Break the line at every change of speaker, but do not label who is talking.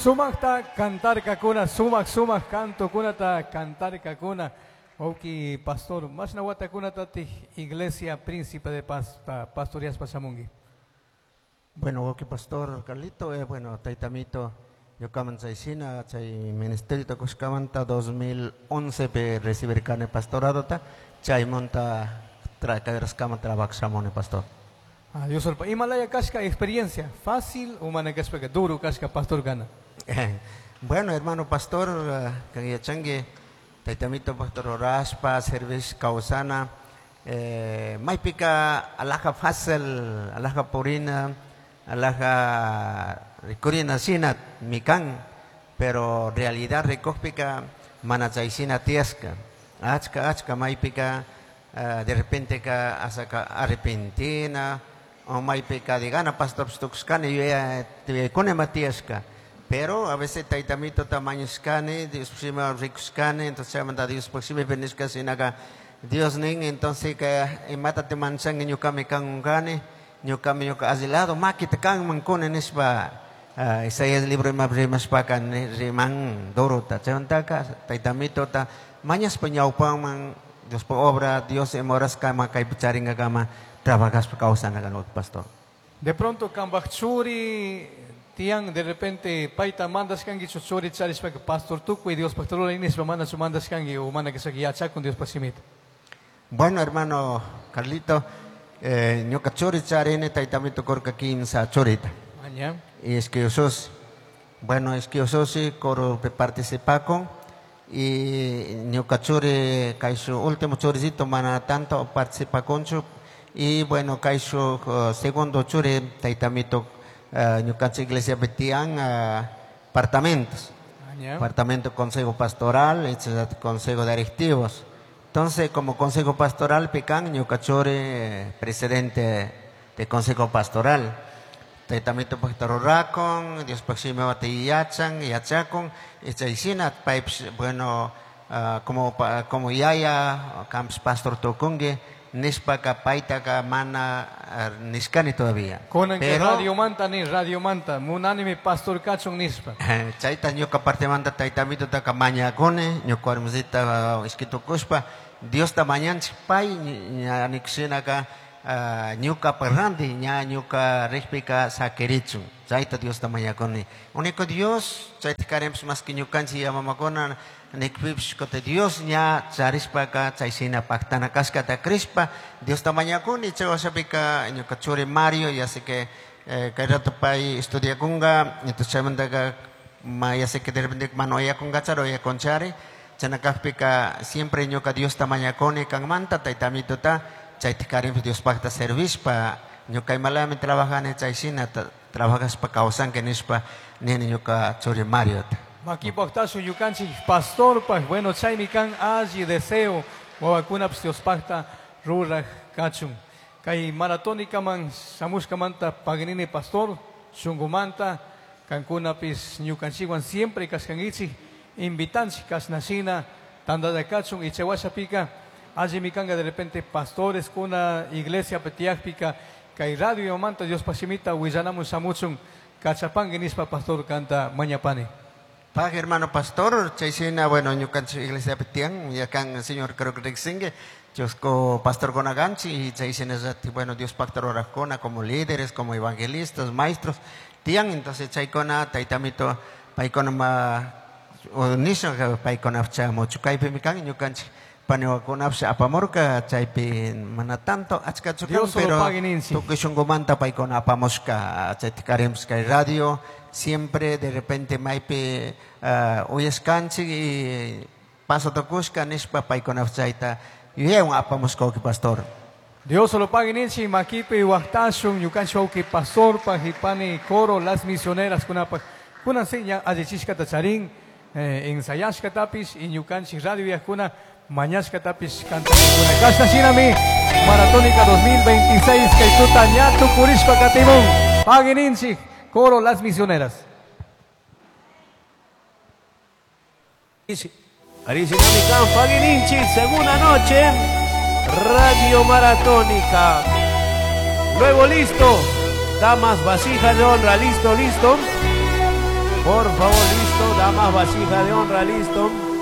Sumaqta cantarkakuna, sumaq sumaq cantokunata cantarkakuna. Wawqi pastor, mashna watakunatatik Iglesia Príncipe de Paz pastoreashpa shamunki?
Bueno, wawqi pastor Carlito, bueno, taytamito, ñukaman chayshina chay ministerio kushkamanta 2011 pi recibirkani pastoradota, chaymanta kayraskama trabajaq shamuni pastor.
Ah, Dios solpa. Imalaya kashka experiencia, fácil o mana kashpaka duro kashka pastor kana?
Bueno, hermano pastor, kan yachanki, taytamito pastor orashpa, servicio kawsana, maypika alaja fácil, alaja purina, alaja rikurina shina mikan, pero realidad rikukpika mana chayshina tiyashka. Achka, achka maypika, de repente ka asaka arrepentina, o maypika digana pastor tukushkani yuyaykuna ima tiyashka. Pero a veces taytamito tamañushkani, Dios shima rikushkani, entonces chaymanta Dios shimi nishka shinaka Dios nin, entonces ka imata te manchanki ñukami kankani, ñukami ñuka alli lado makita kanman kuni nishpa, Isaías libro ima rimashpaka riman durota. Chaymantaka taytamitota mañashpa ñawpaman Diospa obra, Dios ima horaskama kaypi charingakama trabajashpa kawsana kan pastor.
De pronto kambaj churi tiyan de repente payta mandashkankichu churi charishpaka pastor tukuy Diospaj ruray nishpa manachu mandashkanki o mana kashaka yachakun Diospaj shimita?
Bueno, hermano Carlito, ñuka churi charini taytamito kurka kimsa churita.
Aña.
Y es que yo soy, bueno, es que yo soy coro participacon y ñuka churi kayshu último churicito mana tanto participaconchu y bueno kayshu segundo churi taytamito, ñukanchik iglesia tiyan apartamentos.
Aña.
Apartamento consejo pastoral, etcétera, consejo de directivos. Entonces, como consejo pastoral, pican, ñuka churi, presidente de consejo pastoral. Taytamito pajtarurrakun, Dios pajshimi wati yachan, yachakun, y chaysina, paypis, bueno, como pa, como yaya, kamps pastor tukunki, nishpaka paytaka mana, nishkani todavía.
Kunan que
Pero
radio manta ni radio manta, munanimi pastor kachun nishpa.
Chayta ñuka partemanta taytamito taka mañakuni, ñuka warmisita, ishkitukushpa, Diosta mañanchik pay, ña nikushinaka, ñuka parranti, ña ñuka rikpika sakirichun. Chayta Diosta mañakuni. Único Dios, chayta karemps más que ñukanchik yamamakuna, nikpipish kote Dios ña charishpaka, chayshina paktana kashkata krishpa, Diosta mañakuni, chay washapika ñuka churi Mario, ya sé que, kay rato pay estudiakunga, entonces chaymantaka, ma, ya sé que de repente mano oyakunga charo, oyakunchari, chanakajpika siempre ñuka Diosta mañakuni kanmanta, taytamituta, chayta karimpi Diospakta servishpa, ñuka imalami trabajani chayshina, trabajashpa kawsanki nishpa, nini ñuka churi Mariota.
Makipaktashu ñukanchik pastorpaj, bueno, chaymi kan alli deseo, wawakunapis Diospakta ruraj kachun. Kay maratónikaman shamushkamanta paginini pastor, shunkumanta, kankunapis ñukanchikwan siempre kashkankichik, invitanchik kashnashina, tandalla kachun, y chaywashapika, allimi kanka de repente pastores kuna iglesia petiakpika, kay radio manta Diospaj shimita willanamun shamuchun, kachapanki nishpa pastor kanta mañapani.
Pag hermano pastor, chayshina, bueno, ñukanchik iglesia petian, ya kan el señor creo que riksinki, chusco pastor konaganchi, y chayshina zati, bueno, Dios pacta orajkuna como líderes, como evangelistas, maestros, tian, entonces chaykuna, taytamito, paykuna ma, o nisha, paykuna chamuchu, kaypi mi kan, ñukanchik paniwakunapis apamurka, chaypi mana tanto achkachu kan,
Dios solo
pero
pague ninchi.
tukuy shunqumanta paykuna apamushka, chayta karemos kay radio, siempre de repente maypi, uyashkanchik y paso tukushka nishpa paykuna chayta yuyaywan apamushka wawqi pastor.
Dios solo pague ninchi, makipi waqtashun, ñukanchik wawqi pastor, pajipani coro, las misioneras kunapaj, kunan seña allichishkata charin, ensayashkatapis, y ñukanchik radio yajkuna, mañashkatapis cantakuna. Kashna shinami, Maratónica 2026, kaytuta ñatu purishpa katimun. Pague ninchi, coro las misioneras.
Arisinami kan pague ninchi, segunda noche, Radio Maratónica. Luego listo, damas, vasijas de honra, listo, listo. Por favor. más vasija de honra, listo.